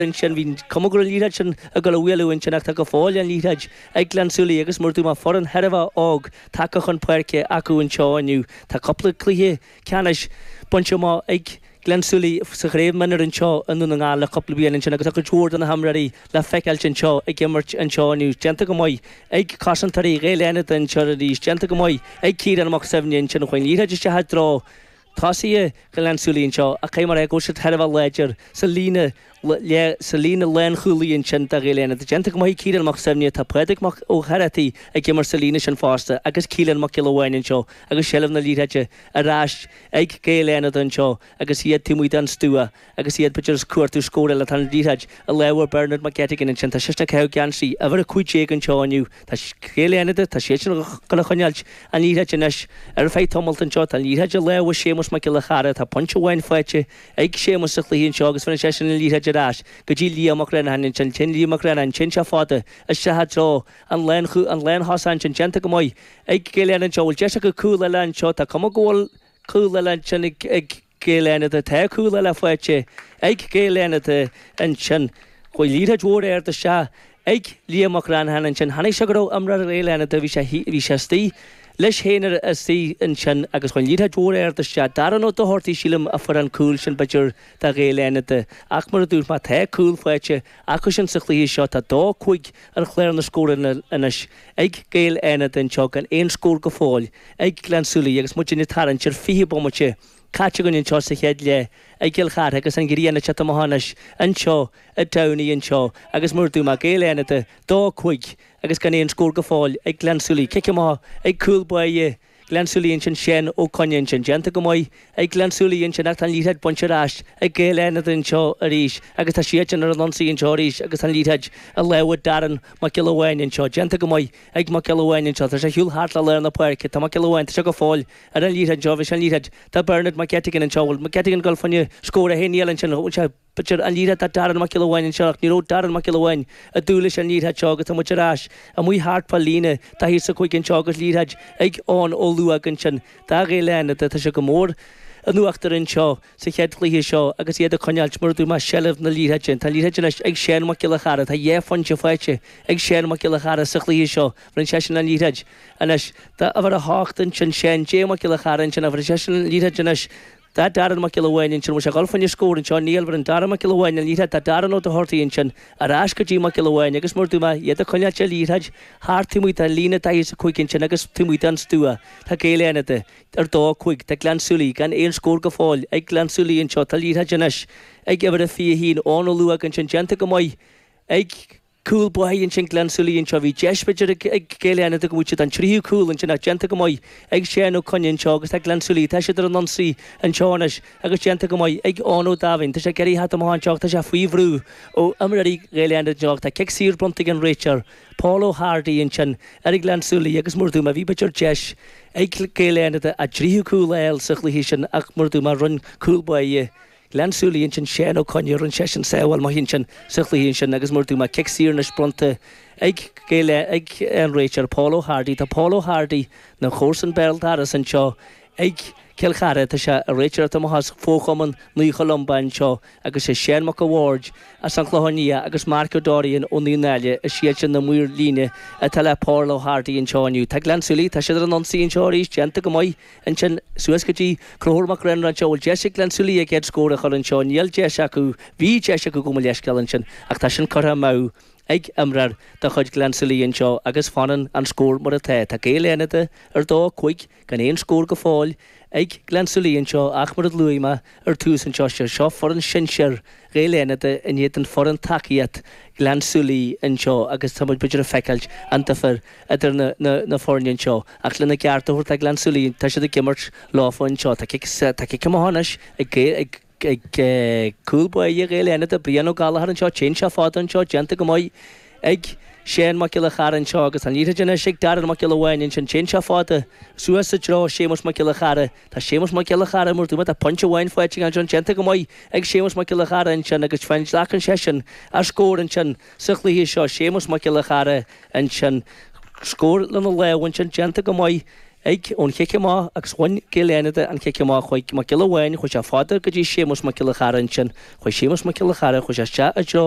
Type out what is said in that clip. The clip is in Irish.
Ansin bhí an cuma go raibh an liathróid sin ag dul a bhualadh ansin ach tá go fóill an liathróid ag Gleann tSúilí agus mar a dúirt mé foireann thar a bheith óg tagtha chun páirce acu anseo inniu. Tá cúpla cluiche ceannais bainte amach ag Gleann tSúilí sa chraobh mionúir anseo i nDún na nGall le cúpla bliain ansin agus tá cuid mhór de na himreoirí le feiceáilt anseo ag imirt anseo inniu. Déanta go maith ag cosantóirí Ghaeil Fhánada anseo arís, déanta go maith ag Ciarán Mac Suibhne ansin chuaigh an liathróid isteach i dtreo Tosaithe Ghleann tSúilí anseo ach caithfidh mé a rá go bhfuil siad thar a bheith láidir sa líne sa líne lánchúlaí ansin do Ghaeil Fhánada. Déanta go maith ag Ciarán Mac Suibhne, tá Pádraig Mac Ó hEarrachtaigh ag imirt sa líne sin fosta agus Keelan Mac Giolla Bháin anseo agus seilbh na liathróide ar ais ag Gaeil Fhánada anseo agus iad taobh amuigh den stua. Agus iad, b'fhéidir, ag cuartú scór eile, tá an liathróid i lámha Bernard McGettigan ansin. Tá seisean ag caitheamh geansaí uimhir 15 anseo inniu. Tá Gaeil Fhánada, tá siadsan ag dul a choinneáilt an liathróid anois ar feadh tamalt anseo. Tá an liathróid i lámha Séamus Mac Giolla Chara. Tá pointe amháin faighte ag Séamus sa chluiche anseo agus bheireann seisean an liathróid ar ais go dtí Liam Mac Reanacháin ansin. Téann Liam Mac Reanacháin, téann sé fada isteach i dtreo an lánthosach ansin. Déanta go maith ag Gaeil Fhánada anseo. Bhfuil deis acu cúl eile anseo? Tá cuma go bhfuil cúl eile ansin ag Gaeil Fhánada. Tá cúl eile faighte ag Gaeil Fhánada ansin. Chuaigh liathróid mhór ard isteach ag Liam Mac Reanacháin ansin. Chonaic sé go raibh imreoir Ghaeil Fhánada, bhí sé, bhí sé istigh leis féin ar istigh ansin agus chuaigh an liathróid mhór ard isteach. Darren Ó Dochartaigh, sílim, a fuair an cúl sin, b'fhéidir, do Ghaeil Fhánada. Ach mar a dúirt mé, tá cúl faighte acu sin sa chluiche seo. Tá 2-5 ar chlár na scóranna anois ag Gaeil Fhánada anseo gan aon scór go fóill ag Gleann tSúilí agus muidinne ag tarraingt ar 20 bomaite caite againn anseo sa chéad leath i gCill Chartha agus an ghrian ag teacht amach anois anseo i dTamhnaigh anseo agus mar a dúirt mé Gaeil Fhánada 2-5 agus gan aon scór go fóill ag Gleann tSúilí. Cic amach ag cúl báire Gleann tSúilí ansin Seán Ó Coinn ansin. Déanta go maith ag Gleann tSúilí ansin ach tá an liathróid bainte ar ais ag Gaeil Fhánada anseo arís agus tá siadsan ar an ionsaí anseo arís agus tá an liathróid i lámha Darren Mac Giolla Bháin anseo. Déanta go maith ag Mac Giolla Bháin anseo. Tá sé ar shiúl thart le lár na páirce. Tá Mac Giolla Bháin, tá sé go fóill ar an liathróid anseo. Bhí sé an liathróid do Bernard McGettigan anseo. Bhfuil McGettigan ag dul fá choinne scór a haon níl ansin. Bhfuil sé B'fhéidir an liathróid do Darren Mac Giolla Bháin anseo ach ní raibh Darren Mac Giolla Bháin ag dúil leis an liathróid seo agus tá muid ar ais amuigh thart fá líne daichead is a 5 anseo agus liathróid ag Eoin Ó Luaig ansin do Ghaeil Fhánada. Tá sé go mór in uachtar anseo sa chéad chluiche seo agus iad ag coinneáilt, mar a dúirt mé, seilbh na liathróide. Tá an liathróid anois ag Seán Mac Giolla Chara. Tá dhá phointe faighte ag Seán Mac Giolla Chara sa chluiche seo. Bheireann seisean an liathróid anois do uimhir a hocht ansin, Seán J Mac Giolla Chara ansin. Bheireann seisean an liathróid anois Do Darren Mac Giolla Bháin ansin, bhfuil sé ag dul fá choinne scór anseo? Níl, bheireann Darren Mac Giolla Bháin an liathróid do Darren Ó Dochartaigh ansin, ar ais go dtí Mac Giolla Bháin agus mar a dúirt mé, iad ag coinneáilt an liathróid thart taobh amuigh den líne 45 ansin agus taobh amuigh den stua. Tá Gaeil Fhánada ar 2-5, tá Gleann tSúilí gan aon scór go fóill ag Gleann tSúilí anseo, tá liathróid anois ag uimhir a 21, Eoin Ó Luaig ansin, déanta go maith ag Cúl báire ansin Gleann tSúilí anseo. Bhí deis b'fhéidir ag Gaeil Fhánada go bhfuil siad an tríú cúl ansin ach déanta go maith ag Seán Ó Coinn anseo agus tá Gleann tSúilí, tá siad ar an ionsaí anseo anois agus déanta go maith ag Eoin Ó Daimhín. Tá sé ag iarraidh theacht amach anseo ach tá sé faoi bhrú ó imreoirí Ghaeil Fhánada anseo ach tá cic saor bronnta ag an réiteoir Paul O'Hardy ansin ar Ghleann tSúilí agus mar a dúirt mé bhí b'fhéidir deis ag Gaeil Fhánada a dtríú cúl a fháil sa chluiche sin ach mar a dúirt mé rinne cúl báire Gleann tSúilí ansin Seán Ó Coinn, rinne seisean sábháil maith ansin sa chluiche ansin agus mar a dúirt mé cic saor anois bronnta ag Gaeil ag an réiteoir Paul O'Hardy. Tá Paul O'Hardy ina chomharsan béal dorais anseo ag Cill Chartha. Tá sé ag réiteoireacht amach as Fo-Chumann Naomh Columba anseo agus sé Seán Mac a' Bhaird as an Chlochán Liath agus Mark O'Dorian ó Naomh Náille is iad sin na maoir líne atá le Paul O'Hardy anseo inniu. Tá Gleann tSúilí, tá siad ar an ionsaí anseo arís, déanta go maith. Ansin suas go dtí Conchúr Mac Réanáin anseo. Bhfuil deis ag Gleann tSúilí a gcéad scór a chur anseo? Níl deis acu. Bhí deis acu gabh mo leithscéal ansin ach tá sin curtha amú ag imreoir de chuid Gleann tSúilí anseo agus fanann an scór mar atá. Tá Gaeil Fhánada ar 2-5 gan aon scór go fóill ag Gleann tSúilí anseo ach mar a luaigh mé ar tús anseo, seo foireann sinsear Ghaeil Fhánada in éadan foireann tacaíocht Ghleann tSúilí anseo agus tá muid b'fhéidir ag feiceáilt an difear idir na foirne anseo ach lena gceart a thabhairt do Ghleann tSúilí tá siad ag imirt leofa anseo. Tá cic tá cic amach anois ag ag ag cúl báire Ghaeil Fhánada, Brian Ó Gallchóir anseo, téann sé fada anseo, déanta go maith ag Seán Mac Giolla Chara anseo agus tá an liathróid anois ag Darren Mac Giolla Bháin ansin, téann sé fada suas i dtreo Séamus Mac Giolla Chara. Tá Séamus Mac Giolla Chara mar a dúirt mé, tá pointe amháin faighte ansin, déanta go maith ag Séamus Mac Giolla Chara ansin agus fain glacann seisean a scór ansin sa chluiche seo. Séamus Mac Giolla Chara ansin, scór lena lámh ansin, déanta go maith. Ag ón chic amach agus bhain Gaeil Fhánada an chic amach chuaigh Mac Giolla Bháin, chuaigh sé fada go dtí Séamus Mac Giolla Chara ansin, chuaigh Séamus Mac Giolla Chara, chuaigh sé isteach i dtreo.